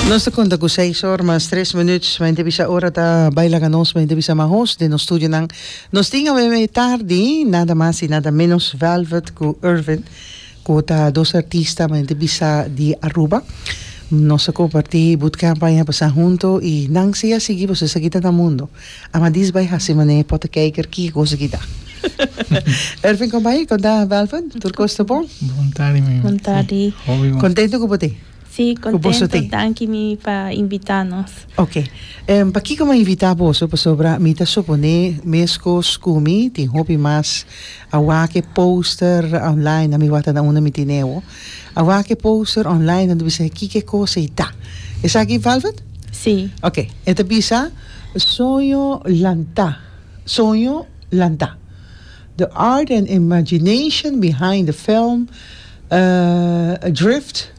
Nos ta konta ku seis or mas tres minüt. Mente bisa ora ta bai laga nos mente bisa mahos den nos studionan. Nos tin awe e tardi nada mas i nada menos Velvet ku Irvin ku ta dos artista mente bisa di Aruba. Nos a kompartí bootcamp aña pasá hunto i nan si a sigui pasobra esaki ta na mundo. Amadis bai hasi manera potekijker kiko kos aki ta. Irvin kon bai? Kon ta Velvet? Tur kos ta bon? Bon tardi mi. Bon tardi. Hopi bon. Kontento ku bo tin? Sí, contento. Danki mi pa invita nos. Ok. Pakiko mi a invita boso? Pasobra mi ta supone mescos cu mi tin hopi mas a wak e poster online, a mi wak ta na unda mi tin ewo. A wak e poster online nan ta bisa kiko e cos ei ta. Esaki Velvet? Sí. Ok. E ta bisa Soño Lantá. Soño Lantá. The art and imagination behind the film Adrift.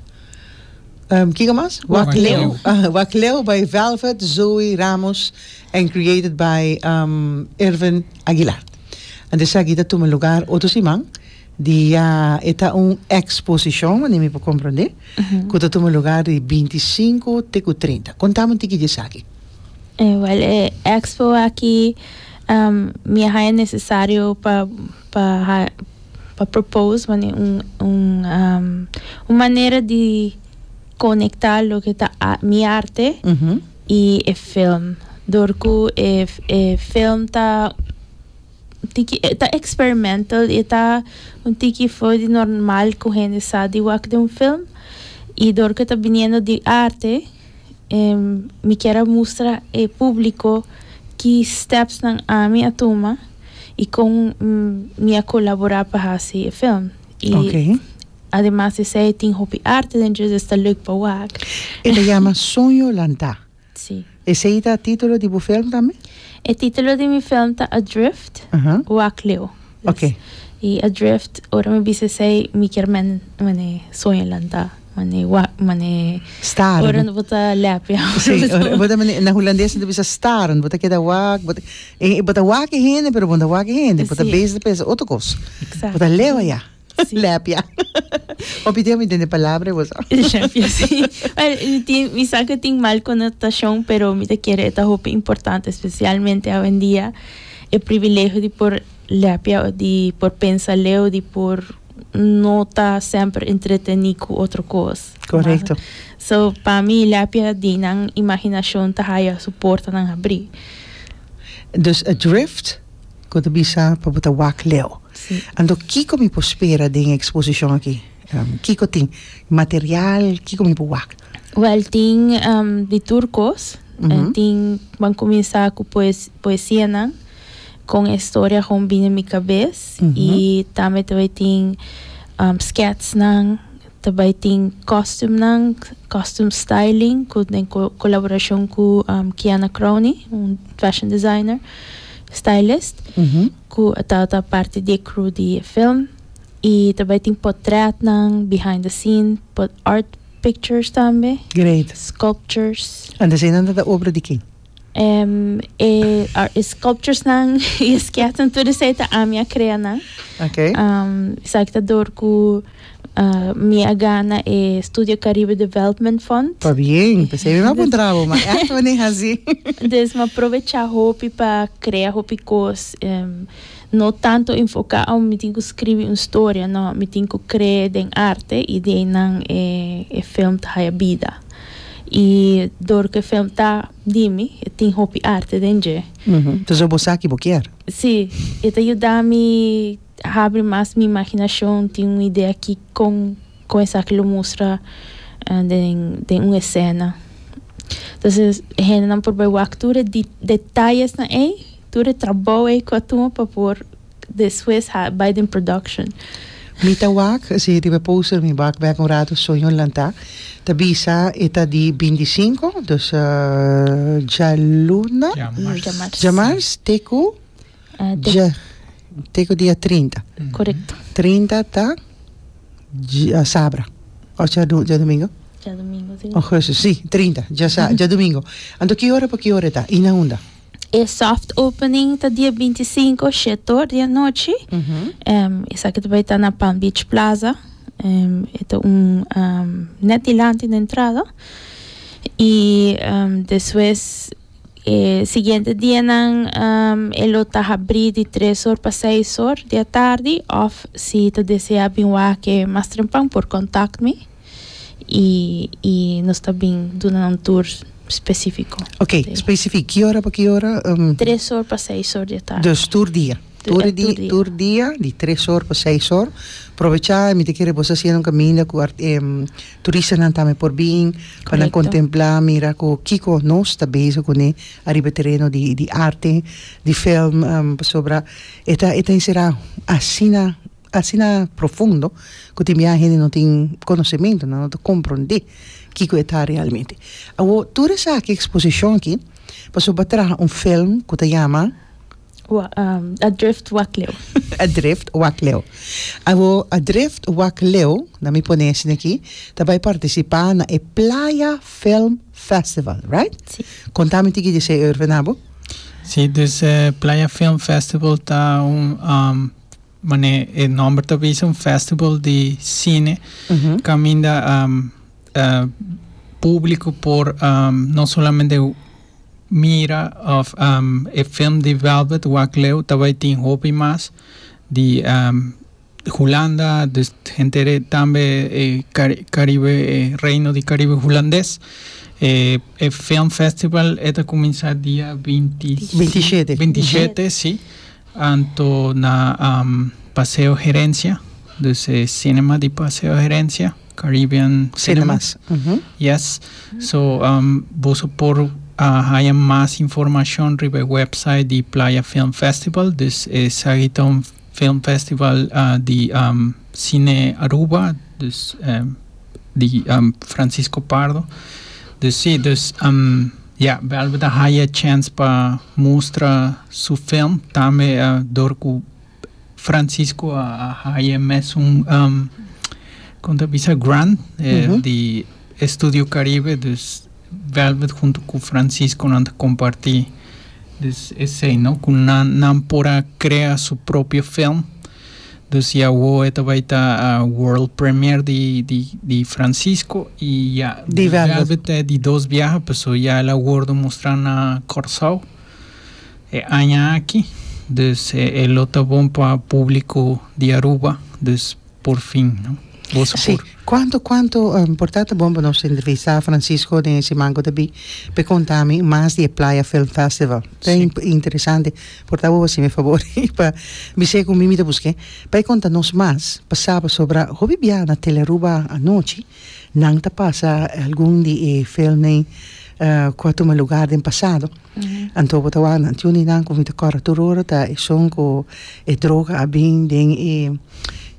Kiko mas? Wak Leu. Wak Leu by Velvet Zoe Ramos and created by Irvin Aguilar. Anto esaki ta tuma lugar otro siman dia e ta un exposicion wanneer mi por comprende cu ta tuma lugar di bintisinco te cu trinta. Contami un tiki di esaki. Wel e expo aki mi a haya necesario pa pa pa propose mane un un un manera di conecta loke ta mi arte y e film door cu e e film ta un tiki e ta experimental y e ta un tiki for di normal cu hende sa di wak den un film y door cu e ta biniendo di arte mi kier a mustra e publico ki stepsnan ami a tuma y con mi a colabora pa haci e film. Y ademas esey tin hopi arte den dje, dus ta leuk pa wak. E ta yama Soño Lantá. Sí. Esey ta titulo di bo film tambe? E titulo di mi film ta Adrift, Wak Leu. Ok. Y adrift, ora mi bisa esey, mi kier men mane soño lanta, mane wak, mane. Staren. Ora bo ta lepia. Sí, ora bo ta mane, na hulandes nan ta bisa staren, bo ta keda wak, bo ta, e bo ta wak e hende, pero bo no ta wak e hende, bo ta bezig ta pensa otro kos. Exacto. Bo ta leu aya. Sí. Lepia. Hopi tempo mi tende palabra e bo sa. Lepia, sí. Wel, mi tin, mi sa ku tin mal konotashon, pero mi ta kere e ta hopi importante, espesialmente awendia, e privilegio di por Lepia di por pensa leu, di por no ta semper entretení ku otro kos. Korekto. So, pa mi lepia di nan imaginashon ta haya su portanan habrí. Dus adrift ku ta bisa pa bo ta wak leu. Si. Anto kiko mi por spera den e eksposishon aki? Kiko tin? Material? Kiko mi por wak? Wèl tin di tur kos. Tin, ban kuminsá ku poesianan. Con e storia gewoon bini mi cabes y tambe ta bay tin sketsnan, ta bay tin costumenan, costume styling cu den colaboracion cu Kiana Crowney, un fashion designer, stylist, cu ta ta parti di e crew di e film. Y ta bay tin potretnan, behind the scene, art pictures tambe. Great. Sculptures. Anto eseinan ta ta obra di ken? E e sculpturesnan y e sketsen tur esei ta ami a crea nan. Okay. Esaki ta door cu mi a gana e Studio Caribe Development Fund. Pabien, p'esei mi a puntra bo, ma echt wanneer haci? Dus mi a probecha hopi pa crea hopi cos. No tanto enfoca oh mi tin cu scribi un storia, no, mi tin cu crea den arte y di einan e e film ta haya bida. Y door cu e film ta di mi, e tin hopi arte den dje. Entonces bo sa ki bo kier. Si, e ta yuda mi habri mas mi imaginacion, tin un idea ki con con esaki lo mustra den den un escena. Entonces e hendenan por bay wak tur e detayesnan ey, tur e trabou ey cu a tuma pa por Despues ha bai den production. Mi ta wak, si riba e poster mi wak bek un rato Soño Lantá ta bisa e ta di bintisinko, dus djaluna, Djamars. djamars te ku dja te ku dia trinta. Korekto. Trinta ta djasabra òf djadumingo? Djadumingo, si. Augustus, si, trinta, djasa djadumingo. Anto ki ora pa ki ora e ta i na unda? E soft opening ta dia 25, shetor di anochi. Esaki ta bai ta na Palm Beach Plaza. E ta un net dilanti na entrada. Y despues e siguiente dianan e lo ta habrí di tres or pa seis or di atardi òf si ta deseá bin wak e mas trempan por kòntakt mi i i nos ta bin duna nan un tour spesífiko. Oké, spesifik ki ora pa ki ora? Tres or pa seis or di atardi. Dus tur dia. Tur di tur dia di tres or pa seis or. Probechá mi ta kere bo sa haciendo un caminda cu turistanan tambe por bin pa nan contempla mira cu kico nos ta bezig cune ariba e tereno di di arte di film pasobra e ta e ta encera asina asina profundo cu tin bia hende no tin conocemento nan no ta comprende kico e ta realmente. Awor tur esaki exposicion aki pasobra bo a traha un film cu ta yama. Adrift Wak Leu. Adrift Wak Leu. Awo Adrift Wak Leu, na mi pone esei aki, ta bai partisipá na e Playa Film Festival, right? Si. Konta mi tiki di esei, Erwin, abo. Si, dus e Playa Film Festival ta un, manera e nòmber ta bisa, un festival di sine kaminda públiko por no solamente mira of e film di Velvet wak leu ta bai tin hopi mas di Hulanda dus henter tambe e Caribe e Reino di Caribe Hulandes e e film festival e ta cuminsa dia 27 27 si anto na Paseo Herencia dus e cinema di Paseo Herencia. Caribbean Cinemas. Yes. So boso por haya mas informacion riba e website di Playa Film Festival. Dus esaki ta un film festival di Cine Aruba, dus di Francisco Pardo. Dus si, dus ya, Velvet a haya chance pa mustra su film tambe dor cu Francisco a haya mesun kon ta bisa grant di Estudio Caribe dus Velvet hunto ku Francisco nan ta kompartí dus esei no ku nan nan por a krea su propio film dus ya awo e ta bai ta world premiere di di di Francisco i ya Di Velvet ta di dos biaha pasobra ya el a wordo mustra na Kòrsou. E aña aki, dus e lo ta bon pa publico di Aruba, dus por fin, no? Boso por. Sí, cuanto cuanto por ta ta bon pa nos entrevista Francisco den e siman cu ta bin p'e conta mi mas di e Playa Film Festival. Ta interesante, por ta bo haci mi e fabor pa bis'é cu mi mi ta busqu'é pa e conta nos mas pa sa pasobra hopi bia na Telearuba anochi nan ta pasa algun di e filmnan cu a tuma lugar den pasado. Anto bo ta wak nan tin un di nan ku mi ta kòrda tur ora ta esun ku e droga a bin den e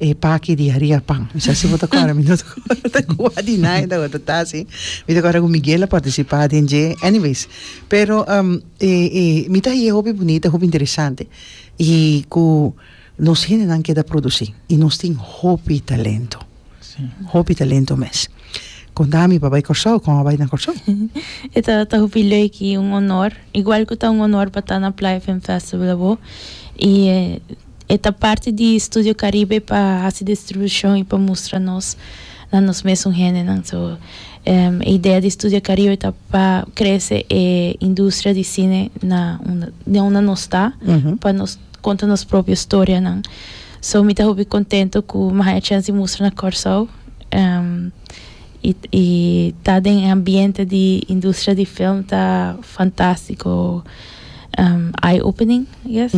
e paki di haria pan. Mi sa si bo ta kòrda, mi no ta kòrda kua di nan e tabata ta si. Mi ta kòrda ku Miguel a partisipá den dje. Anyways, pero e e mi ta hañ'é hopi bunita, hopi interesante i ku nos hendenan keda produsí i nos tin hopi talento. Hopi talento mes. Konta mi pa bai Kòrsou, kon a bai na Kòrsou? E tabata hopi leuk i un honor. Igual ku ta un honor pa ta na Playa Film Festival abo. I e ta parti di Studio Caribe pa hasi distribushon i pa mustra nos na nos mesun hendenan. So e idea di Studio Caribe ta pa krese e industria di sine na unda den unda nos ta, pa nos konta nos propio storianan. So mi ta hopi contento cu mi haya chance di mustra na Corsou y y ta den e ambiente di industria di film ta fantastico eye opening I guess.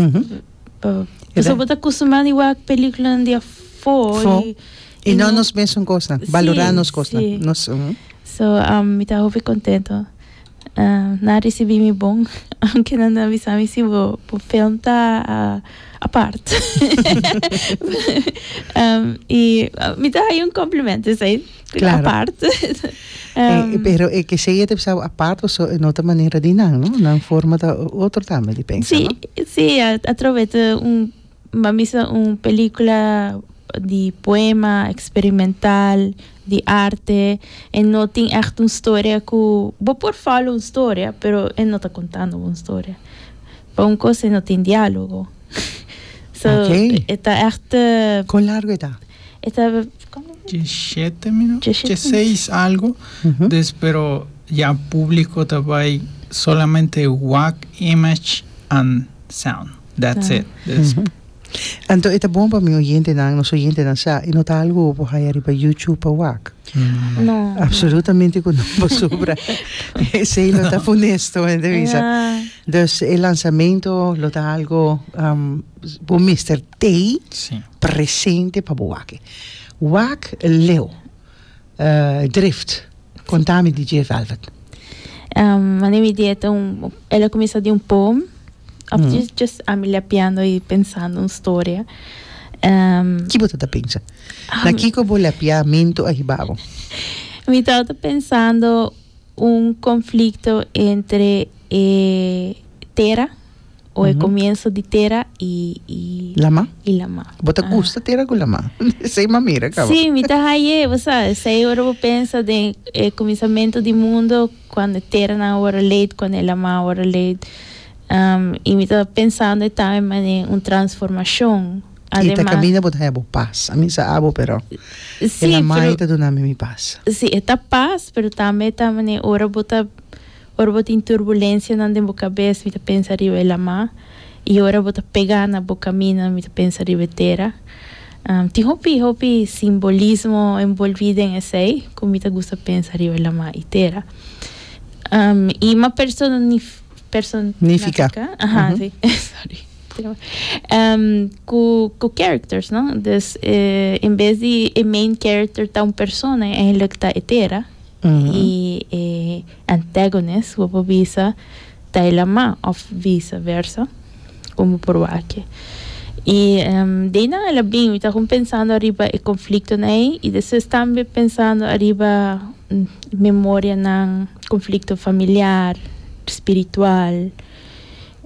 Pasobra bo ta acostumbrá di wak peliculanan di afó y Y no nos mesun cosnan, balorá nos cosnan. So mi ta hopi contento. Nan a ricibi mi bon, aunke nan a bisa mi si bo bo film ta apart. Y mi ta haya un compliment esey, Claro. apart. Pero e ke esey e ta bisa bo apart paso e no ta manera di nan, no? Nan forma ta otro tambe di pensa, Sí, no? sí, atrobe ta un Bo misa un pelicula di poema, experimental, di arte, e no tin echt un storia cu bo por follow un storia, pero e no ta contando bo un storia. Pa un cos e no tin dialogo. So, Ok. e ta echt. Con largo e ta? E ta. Diesshete minuut, diesseis algo. Dus pero. ya publico ta bay solamente wak image and sound. That's it. Dus Anto e ta bon pa mi oyentenan, nos oyentenan sa, e no ta algo bo por haya riba YouTube pa wak. No. Absolutamente ku no pasobra esei lo ta funesto hende bisa. Dus e lansamento lo ta algo bo mester tei presente pa bo wak. Wak leu. Drift. Konta mi di dje Velvet. Mane mi di e ta un el a kuminsá di un poem of just just ami lapiando i pensando un storia. Ki bo ta ta pensa? Na kiko bo lapiamentu a hiba bo? Mi tabata pensando un konflikto entre e tera o e comienzo di tera y y Lama? y lama. Bo ta gusta tera cu lama? Esey m'a mira caba. Sí, mi ta haye, bo sa, esey ora bo pensa den e cuminsamento di mundo, cuando e teranan a worde leid, cuando e lama a worde leid. Y mi ta pensando e tambe manera un transformacion. Y ta caminda bo ta haya bo pas. A mi sa abo pero e lama ey ta duna mi mi pas. Sí, e ta pas, pero tambe ta manera ora bo ta Ora bo tin turbulensianan den bo kabes, mi ta pensa riba e lamá, i ora bo ta pegá na bo kaminda, mi ta pensa riba e tera. Tin hopi, hopi simbolismo enbolbí den esei ku mi ta gusta pensa riba e lamá i tera. I ma personif, person, Nifiká. Aha, si, sorry. Ku, ku characters, no? Dus, en bes di e main character ta un persona, eigenlijk ta e tera. I e antagonist bo por bisa ta e lamá òf visa versa kon bo por wak. I de einan el a bin mi ta kon pensando ariba e konfliktonan ei i despues tambe pensando ariba memorianan, konflikto familiar, spiritual.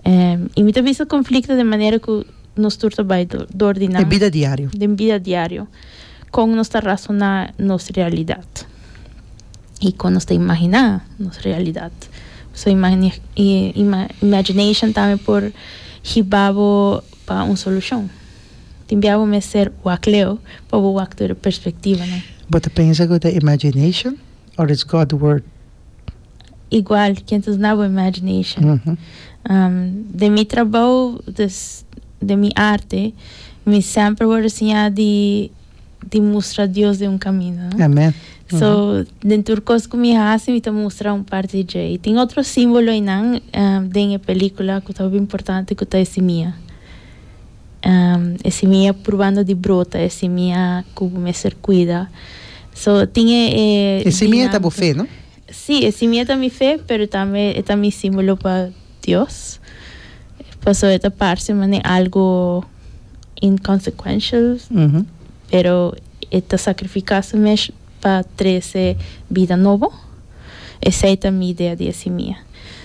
I mi ta bisa konflikto den manera ku nos tur ta bai dor di nan. Den bida diario. Den bida diario. Kon nos ta rasoná nos realidat i kon nos ta imaginá nos realidat. So imagination tambe por hiba bo pa un solushon. Tin bia bo mester wak leu pa bo wak tur e perspektivanan. Bo ta pensa ku ta imagination or it's God word? Igual, ken ta duna bo imagination. Den mi trabou, dus den mi arte, mi semper worde siña di di mustra Dios den un camino, no? Amen. So, den tur cos cu mi haci, mi ta mustra un parti di dje. Y tin otro simbolo eynan den e pelicula cu ta hopi importante cu ta e simia. E simia purbando di brota, e simia cu bo mester cuida. So, tin e E simia ta bo fe, no? Sí, e simia ta mi fe, pero tambe e ta mi símbolo pa Dios. Pasobra e ta parse manera algo inconsequential, pero e ta sacrifica su mes pa trece bida nobo. Esey ta mi idea di e simia.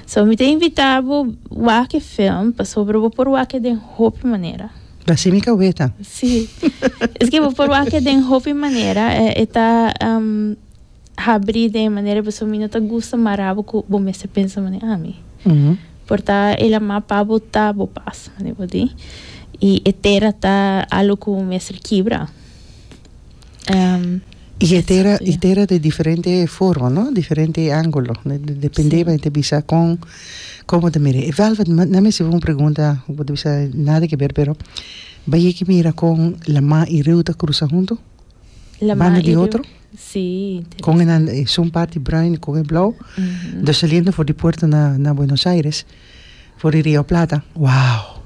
So mi ta invita bo wak e film, pasobra bo por wak e den hopi manera. Ta así mi cabeta. Sí. Es que bo por wak e den hopi manera. E ta Habrí den e manera pasobra mi no ta gusta mara bo ku bo mester pensa manera ami. Por ta e lamá pa bo ta bo pas, manera bo di. I e tera ta algu ku bo mester kibra. I e tera, e tera di diferente forma, no? Diferente ángulo. Depende bo ta bisa kon, kon bo ta mira. E Velvet, na mi hasi bo un pregunta, bo ta bisa nada ke ber, pero bo a yega mira kon lamá i riu ta krusa huntu? Banda di otro? Sí, Con e nan esun parti bruin con e blauw. Dus saliendo for di puerto na na Buenos Aires, for di Rio Plata, wow!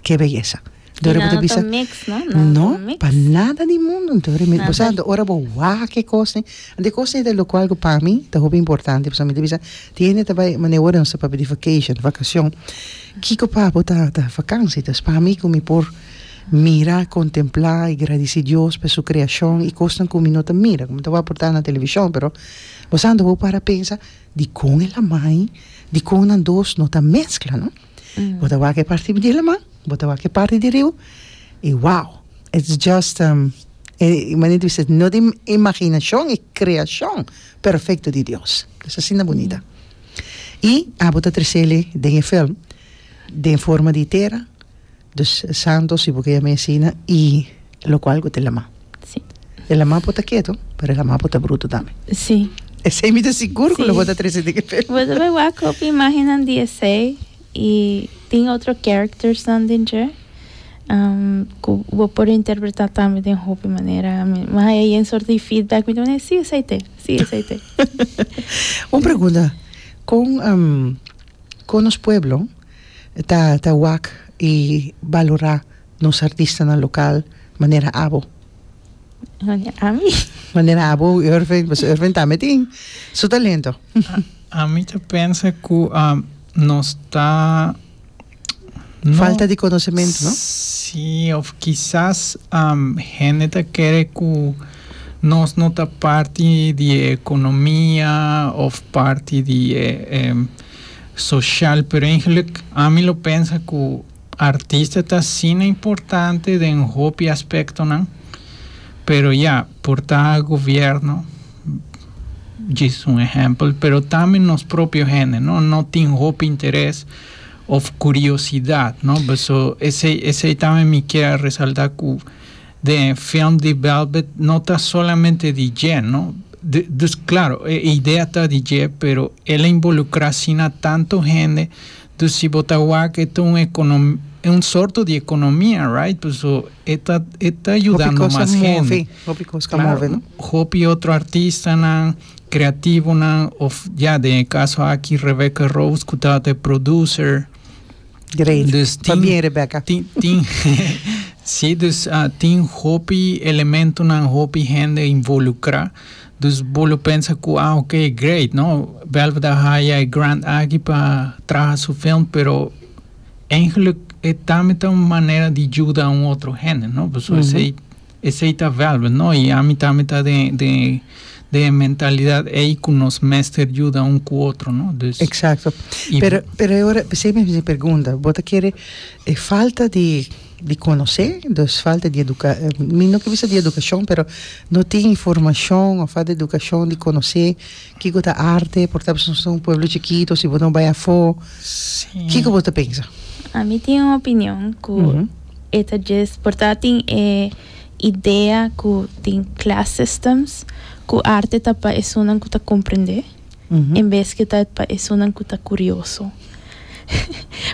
Ke beyesa. Dor bo ta bisa, mix, no? No, pa nada di mundo. Anto mi, bo sa, anto ora bo wak e cosnan, anto e cosnan ta locual cu pa mi ta hopi importante, pasobra mi ta bisa, tin hende ta bay, manera ora nos ta papia di vacation, vacacion, kico pa bo ta ta vakantie? Dus pa mi cu mi por Mira, kontemplá i gradisí Dios pa su kreashon i kosnan ku mi no ta mira, ku mi ta wak por ta na televishon, pero bo sa anto bo para pensa, dikon e lamai, dikon nan dos no ta meskla, no? Bo ta wak e parti di laman, bo ta wak e parti di riu, i wow, it's just, e manera di bisa, no di imaginashon, e kreashon perfekto di Dios. Es asina bunita. I abo ta tresele den e film den forma di tera. Dus santo si bo ke yama asina y locual cu ta e lama. Si. E lama por ta keto, pero e lama por ta bruto tambe. Si. Esei mi ta sigur ku lo bo ta trese den e film. Bo ta bai wak hopi imagennan di esei i tin otro charactersnan den dje ku bo por interpretá tambe den hopi manera. Mi haya yen sorto di feedback, mi ta manera si esei te, si esei te. Un pregunta, kon kon nos pueblo ta ta wak i balorá nos artistanan lokal manera abo? Ami. Manera abo Irving, pasobra Irving tambe tin su talento. Ami ta pensa ku nos ta no. Falta di konosementu, no? Sí, of kisas hende ta kere ku nos no ta parti di e ekonomia of parti di e soshal, pero eigenlijk ami lo pensa ku Artista ta asina importante den hopi aspectonan, pero ya, por ta gobierno, djis un ehempel, pero tambe nos propio hende, no, no tin hopi interes of curiosidad, no, paso esey, esey tambe mi kier a resalta cu den e film di Velvet no ta solamente di dje, no, dus claro, e idea ta di dje, pero el a involucra asina tanto hende. Dus si bo ta wak e ta un econom un sorto di economia right paso e ta e ta yudando mas hende. Hopi cos ka move no. Hopi otro artistanan creativonan of ya den e caso aki Rebecca Rose cu tabata e producer. Great. Dus tin Pabien Rebecca. Tin tin si dus tin hopi elementonan hopi hende involucra. Dus bo lo pensa cu ah ok great no, Velvet a haya e grant aki pa traha su film pero eigenlijk e tambe ta un manera di yuda un otro hende no, pasobra esey esey ta Velvet no y ami tambe ta den den den e mentalidad ey cu nos mester yuda un cu otro no, dus. Exacto, pero pero e ora p'esey mi haci e pregunta, bo ta kere e falta di. Di konosé, dus falta di eduka, mi no ke bisa di edukashon, pero no tin informashon òf falta di edukashon di konosé kiko ta arte, por ta nos ta un pueblo chikito, si bo no bai afó, kiko bo ta pensa? Ami tin un opinion ku e ta djes por ta tin e idea ku tin class systems ku arte ta pa esunnan ku ta komprendé. En bes ke ta pa esunnan ku ta kurioso.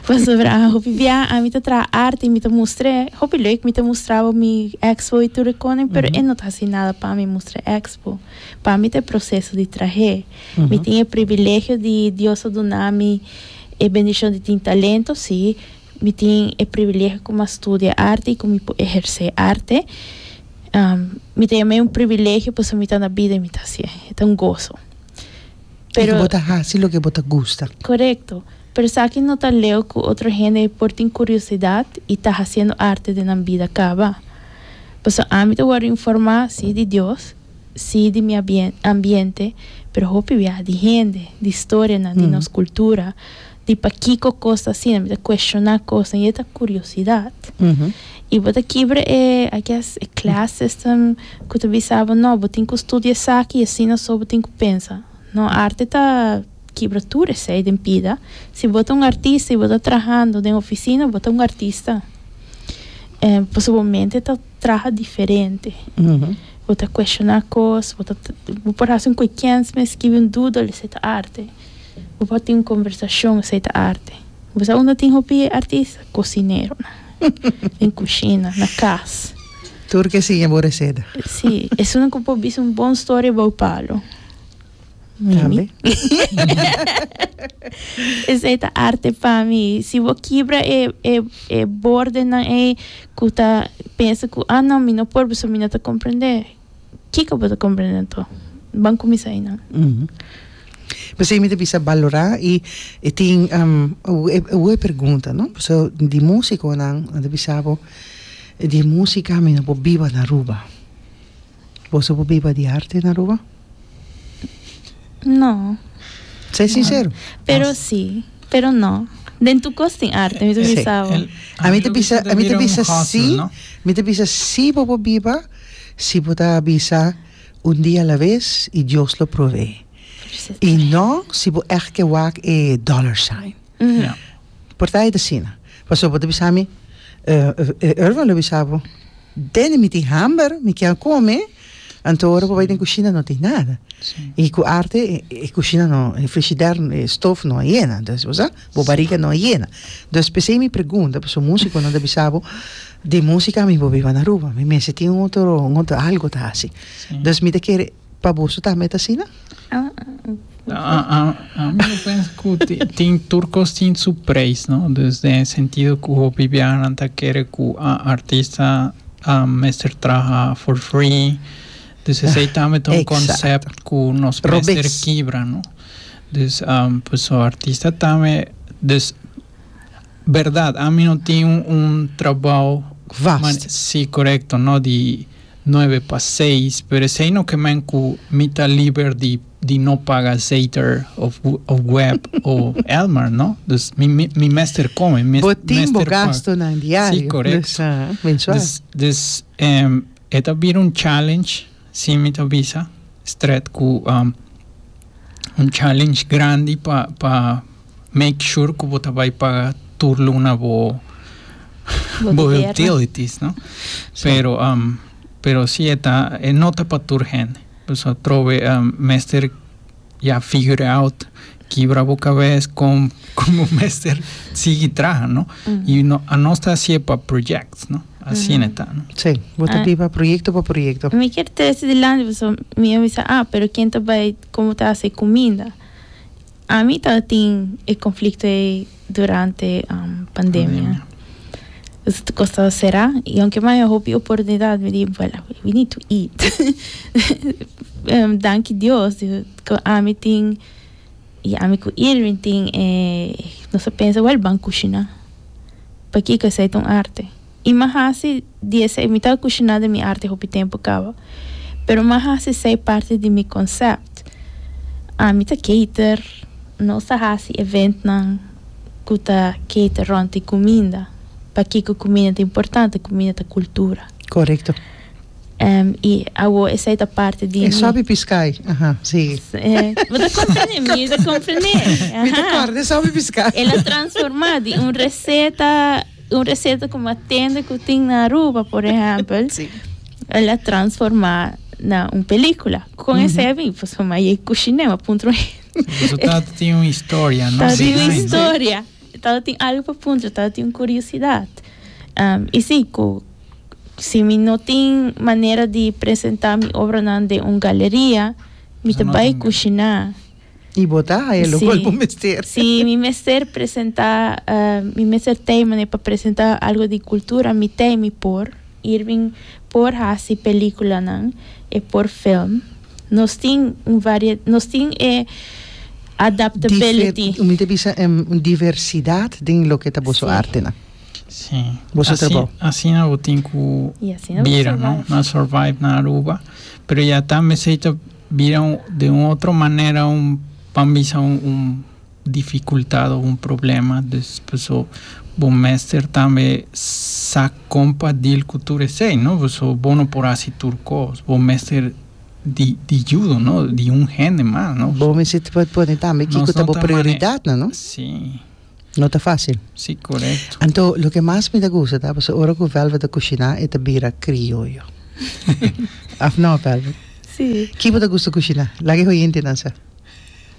Pasobra hopi bia ami ta traha arte i mi ta mustr'é, hopi leuk mi ta mustra bo mi expo i tur e konen, pero e no ta hasi nada pa mi mustra e expo. Pa mi ta e proseso di trah'é. Mi tin e privilegio di Dios a duna mi e bendishon di tin talento, sí, mi tin e privilegio ku mi a studia arte i ku mi por ehersé arte. Mi ta yam'é un privilegio pasobra mi ta na bida i mi ta hasié. E ta un goso. Pero, bo ta hasi loke bo ta gusta. Korekto. Pero esaki no ta leu ku otro hende por tin kuriosidat i ta hasiendo arte den nan bida kaba. Pasobra ami ta wòrdu informá, sí di Dios, sí di mi ambiente, pero hopi bia di hende, di storianan, di nos kultura, di pakiko kos ta asina. Mi ta kuestioná kosnan i e ta kuriosidat. I bo ta kibra e, I guess, e class system ku ta bisa bo, no, bo tin ku studia esaki i asina so bo tin ku pensa. No, arte ta kibra tur esei den pida. Si bo ta un artista i bo ta trahando den ofisina, bo ta un artista. Pasobra bo mente ta traha diferente. Bo ta kuestioná kos, bo ta, bo por hasi un koikens mes, skibi un doodle, esei ta arte. Bo por tin un kombersashon, esei ta arte. Bo sa unda tin hopi artista? Kosineronan. Den kushina, na kas. Tur ke siña bo reseta. Sí, esun ku por bisa un bon storia bou palo. Tambe. Esei ta arte pa mi. Si bo kibra e e e bordenan ei ku ta pensa ku ah no mi no por pasobra mi no ta komprendé. Kiko bo ta komprendé anto? Ban kuminsá einan. P'esei mi ta bisa balorá i e tin e pregunta no pasobra di músikonan nan ta bisa bo di músika mi no por biba na Aruba. Boso por biba di arte na Aruba? No. Sé sincero. Pero sí, pero no. Den tu kos tin arte, mi ta bisa bo. Ami ta bisa, ami ta bisa sí, mi ta bisa sí bo por biba si bo ta bisa un dia a la vez y Dios lo provee. Y no si bo echt ke wak e dollar sign. Por ta e ta asina. Pasobra bo ta bisa mi, Irvin lo bisa bo, Danny mi tin hamber, mi kier kome. Anto ora bo bai den kushina no tin nada. I ku arte e kushina no, e frishider, e stof no a yena. Dus bo sa, bo bariga no a yena. Dus p'esei mi pregunta, pasobra musikonan ta bisa bo, di musika mi por biba na Aruba, mi mester tin un otro, un otro algo ta hasi. Dus mi ta kere pa boso tambe ta asina? Ami lo pensa ku tin tur kos tin su prijs, no? Dus den e sentido ku hopi biahanan ta kere ku artista mester traha for free. Dus esei tambe ta un concept ku nos mester kibra, no? Dus pasobra artista tambe, dus berdad ami no tin un trabou Vast. Si, korekto, no di nuebe pa seis, pero esei no ke men ku mi ta liber di di no paga Zeter of of web o Elmar, no? Dus mi mi mester kome, mi Bo tin bo mester paga. gastonan diario. Si, korekto. Dus, ah, mensual. Dus, dus e ta bira un challenge, si mi ta bisa, stret ku un challenge grandi pa pa make sure ku bo ta bai paga tur luna bo bo utilities, no? Pero pero si e ta e no ta pa tur hende. Pasobra atrobe mester ya figure out kibra bo kabes kon kon bo mester sigui traha, no? I no anos ta hasié pa projects, no? Asina e ta, no? Sí, bo ta biba proyecto pa proyecto. Mi kier trese dilanti pasobra mi a bisa, ah, pero ken ta bai komo ta hasi kuminda? Ami tabatin e konflikto ei durante pandemia. Pues kos tabata será i aunke mi a haña hopi oportunidat mi di bueno we need to eat. Danki Dios ku ami tin i ami ku Irving tin e nos a pensa wèl ban kushiná. Pakiko esei ta un arte. I mi a hasi di esei mi tabata kushiná den mi arte hopi tempu kaba pero mi a hasi esei parti di mi konsèpt. Ami ta cater, nos ta hasi eventnan ku ta cater rònt di kuminda. Pakiko kuminda ta importante? Kuminda ta kultura. Korekto. I awor esei ta parti di E mi. sòpi piskai, aha, sigui. Bo ta komprendé? Mi ta komprendé. Mi ta kòrda e sòpi piskai. El a transformá di un reseta. Un receta cu mi a tende cu tin na Aruba, por ehempel, Sí. el a transforma na un pelicula. Con esey a bin, pasobra mi a yega cushiné, mi a puntra un hende. Su tata tin un historia, no? Tata tin un Behind. historia. Tata tin algo pa puntra, tata tin un curiosidad. Y sí, cu si mi no tin manera di presenta mi obranan den un galeria, mi ta No bay tin. cushiná. I bo ta haya locual bo mester. Si mi mester presenta, mi mester tei manera pa presenta algo di cultura, mi tei mi por. Irving por haci peliculanan, e por film. Nos tin un varie, nos tin e adaptability. Mi ta bisa un diversidad den loke ta boso artenan. Si. Boso trabou. Asina bo tin cu bira, no? Na survive na Aruba. Pero ya tambe esey ta. Bira un de un otro manera un ban bisa un un dificultad o un problema dus paso bo mester tambe sa con pa deal cu tur esey no paso bo no por haci tur cos bo mester di di yudo no di un hende mas no. Bo mester por pone tambe kico ta bo prioridadnan no. Si. No ta facil. Si corecto. Anto loke mas mi ta gusta ta pasobra ora cu Velvet ta cushina e ta bira crioyo. Of no Velvet? Si. Ki bo ta gusta cushina? Laga e oyentenan sa.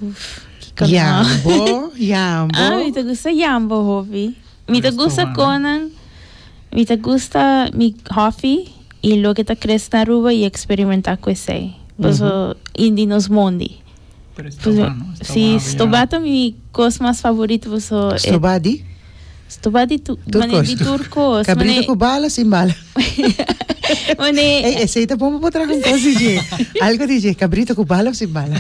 Uf, kiko no. Yambo, yambo. Ah, mi ta gusta yambo hopi. Mi ta gusta konan, mi ta gusta mi hofi y loke ta crece na Aruba y experimenta cu esey. Paso, y di nos mondi. Pero stobá, no? Stobá Sí, stobá ta mi kos mas favorito paso e Stobá di? Stobá di tu, Tur mane kos. di tur kos. Kabrito Mane ku bala sin bala. mane Ey, esei ta bon pa bo traha un kos di dje. Algo di dje, kabrito ku bala of sin bala.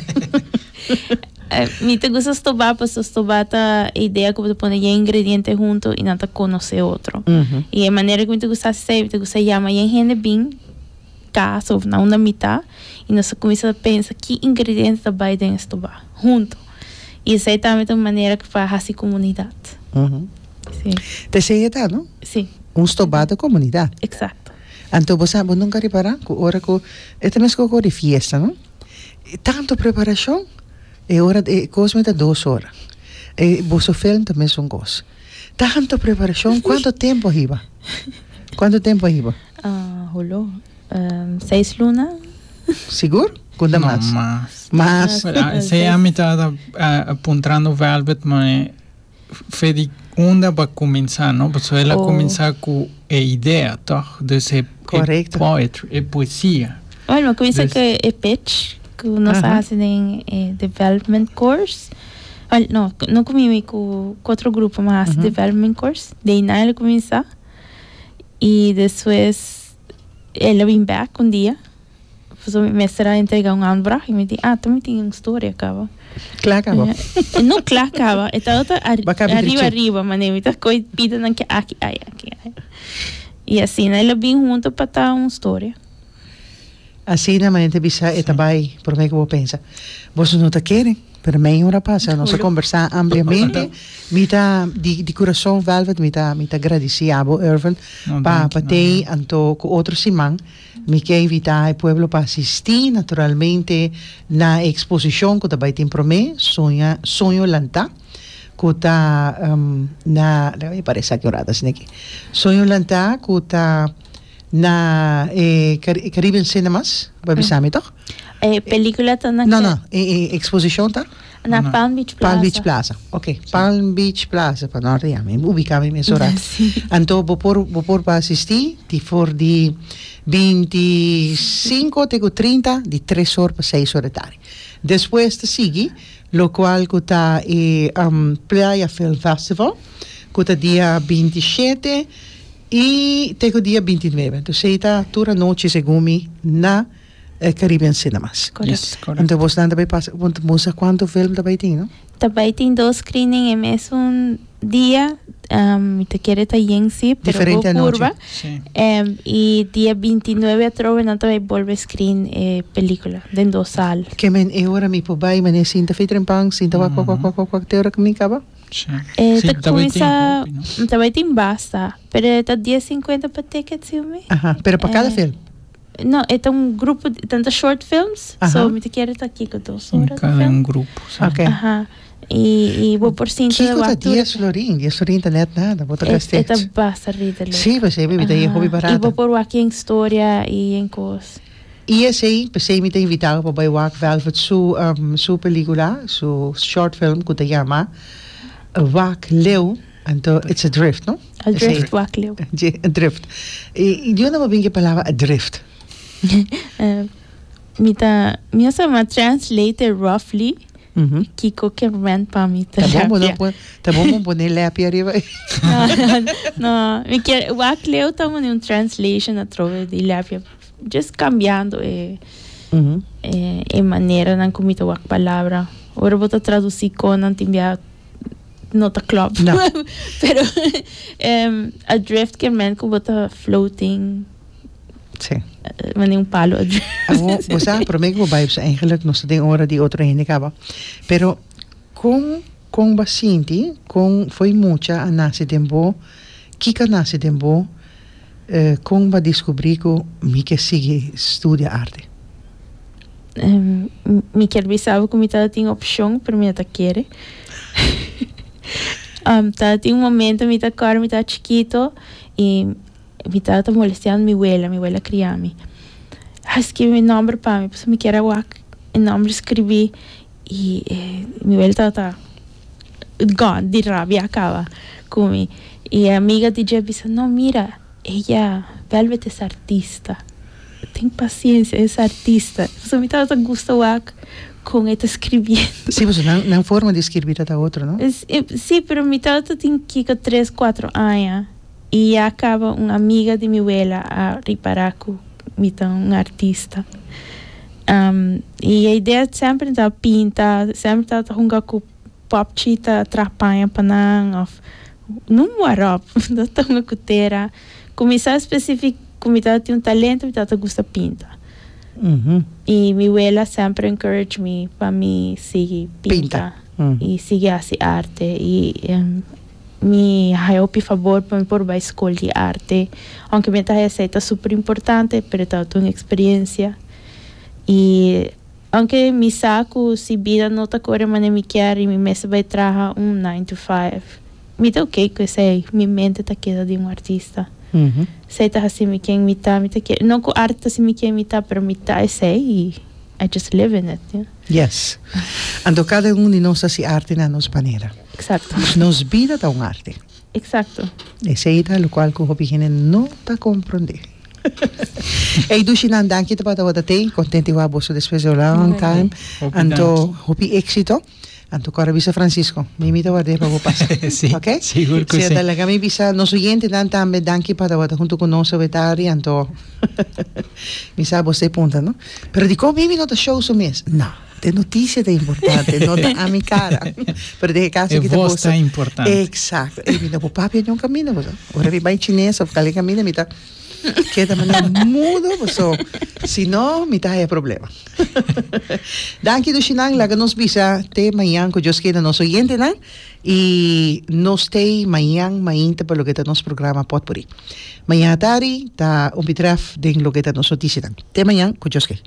Mi ta gusta stobá paso stobá ta e idea ku bo ta pone yen ingrediente hunto i nan ta konosé otro. I e manera ku mi ta gusta hasi esei, mi ta gusta yama yen hende bin. Casa of na unda mi ta y nos a cuminsa pensa ki ingrediente ta bay den estoba hunto y esey tambe ta un manera pa haci comunidad. Si. Ta esey e ta no? Si. Un stoba ta comunidad. Exacto. Anto bo sa bo nunca ripara cu ora cu e ta mesco cu di fiesta no? Tanto preparacion e ora e cos mester dos ora e boso film ta mesun cos tanto preparacion cuanto tempo a hiba? Cuanto tempo a hiba? Holo, seis luna. Sigur? Kunda No, mas? mas. Mas. Ah, Esei ami tabata ah, puntrando Velvet, ma fe di unda pa kuminsá, no? Pasobra el a Oh. kuminsá ku e idea, tòg? Dus e, e Korekto. poetry, e poesia. Bueno, mi kuminsá Dus- ku e pitch ku nos a Aha. hasi den e development course. Wel, no, no ku mi, mi ku ku otro grupo mi a hasi development course. De einan el a kuminsá. I despues el a bin bèk un dia. Pasobra mi mester a entrega un aanvraag i mi di, ah, ta mi tin un storia kaba. Kla kaba. E no kla kaba, e tabata ar- Ba kabi arriba drechi. arriba, mane mi ta koy pidanan ke aki ai, aki ai. I asina el a bin hunto pa ta un storia. Asina manera ta bisa e ta bai prome ku bo pensa. Boso no ta kere, pero mei ora pasa nos a kombersá ampliamente. Mi ta di di kurason Velvet mi ta mi ta gradisí abo Irvin No, pa danki, pa no. tei anto ku otro siman mi ke invitá e pueblo pa asistí naturalmente na e eksposishon ku ta bai tin prome Soña Soño Lantá ku ta na laga mi para esaki un rato asina aki Soño Lantá ku ta Na e Caribbean Cinemas, bo a bisa mi toch? E pelicula ta na. No, no, e exposicion ta? Na Palm Beach Plaza. Palm Beach Plaza, ok. Palm Beach Plaza, pa norte ya, mi ubica mi mes ora. Anto bo por, bo por pa asisti di for di 25 te cu 30, di tres or pa seis or di tardi. Despues ta sigui locual cu ta e Playa Film Festival, cu ta dia 27. I te ku dia 29. Entonces ei ta tur anochi segun mi na Caribbean Cinemas. Yes, Correcto. correcto. Entonces bosnan ta bai pasa, want bo sa cuanto film ta bai tin, no? Ta bai tin dos screening e mesun dia. Mi ta kere ta yen si, pero Diferente bo anochi. curva. Sí. I dia 29 atrobe nan ta bai bolbe screen e pelicula den dos sal. Ke men e ora mi por bai, mane sinta fei trempan, sinta wak wak wak wak wak wak te ora ku mi kaba. E Sí, ta ta bai tin cuminsa, hopi, no? ta bai tin basta, pero e ta dies cincuenta pa ticket, si mi. Aha, pero pa cada Eh, film? No, e ta un grupo, di- tanta short films, Aha. so mi ta kere ta kiko dos Un ora di cada film. un grupo, sí. Ok. Aha. I, i bo por sinta Kiko ta wak tur- dies florin? Dies florin ta net nada, bo ta E, gasta e ta iets. basta redelijk. Sí, pues e bebida e hopi I barata. bo por wak en storia i en kos. I esei, p'esei mi ta invitá bo pa bai wak Velvet su su pelicula, su short film cu ta yama Wak Leu, anto it's adrift, no? Adrift, Wak Leu. Dje, adrift. I di unda bo bin cu e palabra adrift? Mi ta, mi a sa mi a translate roughly kico ke men pa mi ta Ta bon bo no lepia. pon, ta bon bo pone lepia ariba ei. No, no, mi kier, Wak Leu ta un translation atrobe di lepia. Just cambiando e e maneranan cu mi ta wak palabra. Ora bo ta traduci conan tin bia no ta klop. No. Pero adrift ke men cu bo ta floating. Sí. Mane un palo adrift. Awo, bo sa, prome cu bo bai, eigenlijk nos ta den ora di otro hende caba. Pero con con bo a sinti, con fo'i mucha a nace den bo, kico a nace den bo? Kon bo a diskubrí ku mi ke sigui studia arte? Mi kier bisa bo ku mi tabatin opshon, pero mi no ta kere. Tabatin un momento mi ta kòrda mi tabata chikito i mi tabata molestiando mi wela, mi wela a kria mi. A skibi mi nòmber pa mi pasobra mi kier a wak e nòmber skribí i mi wela tabata gone di rabia a kaba ku mi. I e amiga di dje a bisa, No, mira, ella, Velvet es artista. Ten paciencia, es artista. Pasobra mi tabata gusta wak con e ta scribiendo. Sí, pasobra nan, nan forma di skirbi ta ta otro, no? Sí, pero mi tabata tin kiko tres, cuatro aña i ya caba un amiga di mi wela a ripara cu mi ta un artista. I e idea semper mi tabata pinta, semper mi tabata hunga cu Popchi ta traha paña pa nan of no warop no ta hunga cu tera. Cuminsa specific cu mi tabatin un talento mi tabata gusta pinta. Y mi wela semper encourage mi pa mi sigui pinta y sigui haci arte y mi haya hopi fabor pa mi por bay scol di arte aunke mi ta haya esey ta super importante pero tabata un experiencia y Aunke mi sa ku si bida no ta kore manera mi kier i mi mester bai traha un nine to five, mi ta ok ku esei, mi mente ta keda di un artista. Esei ta hasi mi ken mi ta, mi ta kere, no ku arte ta hasi mi ken mi ta, pero mi ta esei i I just live in it, yeah. Yes. Anto kada un di nos ta hasi arte na nos manera. Exacto. Nos bida ta un arte. Exacto. Esei ta lokual ku hopi hende no ta komprondé. Ey dushinan danki ta tabata tei, kontenti wak boso despues di un long time. Anto hopi éxito. Anto kòrda bisa Francisco, mi mi ta ward'é pa bo pasa. Sí, Ok? sigur ku Sí, sí. anto laga mi bisa nos oyentenan tambe danki pa tabata huntu ku nos awe tardi, anto mi sa bo stay punta, no? Pero dikon mi mi no ta show su mes? No, te notisia ta importante, no ta ami kara. Pero den e kaso E aki ta vos boso. ta importante. Exacto. E mi no por papia niun kaminda, bo sa. Ora mi bai chines of kale kaminda mi ta Keda manera mudo paso si no mi ta haya problema. Danki dushinan laga nos bisa te mañan ku Dios keda nos oyentenan y nos tei mañan mainta pa loke ta nos programa Potpourri. Mañan atari ta un bitref den loke ta nos noticianan. Te mañan ku Dios ke.